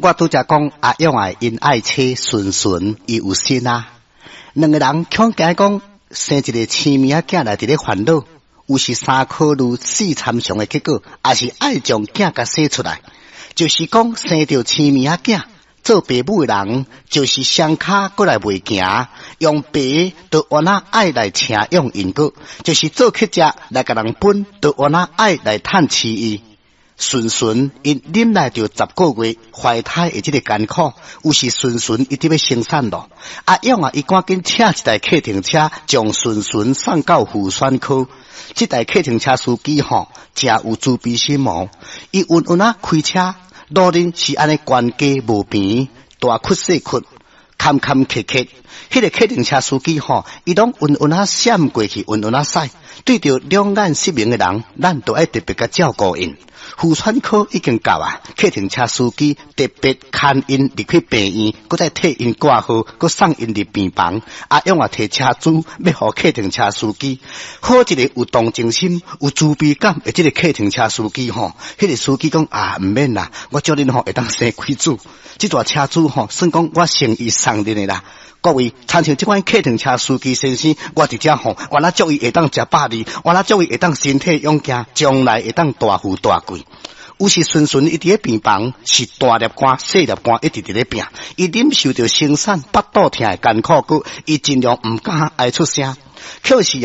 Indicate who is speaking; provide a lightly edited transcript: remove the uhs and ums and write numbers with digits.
Speaker 1: 我拄才講阿勇仔𪜶愛妻順順，伊有心啊。兩個人恐驚講生一个青物仔囝來佇咧煩惱，有是三考慮四參詳的結果，也是愛將囝共生出來。就是講生著青物仔囝，做爸母的人，就是雙跤閣來袂行，用爸都原來愛來請養𪜶閣，就是做乞食來共人分，都原來愛來趁飼伊。順順𪜶忍耐著10個月懷胎的這个艱苦，有時順順伊佇欲生產咯。阿勇啊，伊趕緊請一台客停車，將順順送到婦產科。這台客停車司機吼，誠有慈悲心哦。伊穩穩仔開車，路面是按呢懸低無平，大窟細窟，坎坎坷坷。彼个客停車司機吼，伊攏穩穩仔閃過去，穩穩仔駛。對著兩眼失明的人，咱都愛特別共照顧𪜶。婦產科已經到啊，客停車司機特別牽𪜶入去病院，閣再替𪜶掛號，閣送𪜶入病房。阿勇仔提車資欲予客停車司機，好一个有同情心、有慈悲感的這个客停車司機吼。彼个司機講啊，毋免啦，我祝恁吼會當生幾子。這台車資吼，算講我誠意送恁的啦。各位，親像這款客停車司機先生，我佇遮吼，原來祝伊會當食百二，原來祝伊會當身體勇健，將來會當大富大貴。有時順順伊佇咧病房是大粒汗、細粒汗，一直佇咧拼，伊忍受著生產腹肚疼的艱苦，閣伊盡量毋敢愛出聲。可是啊，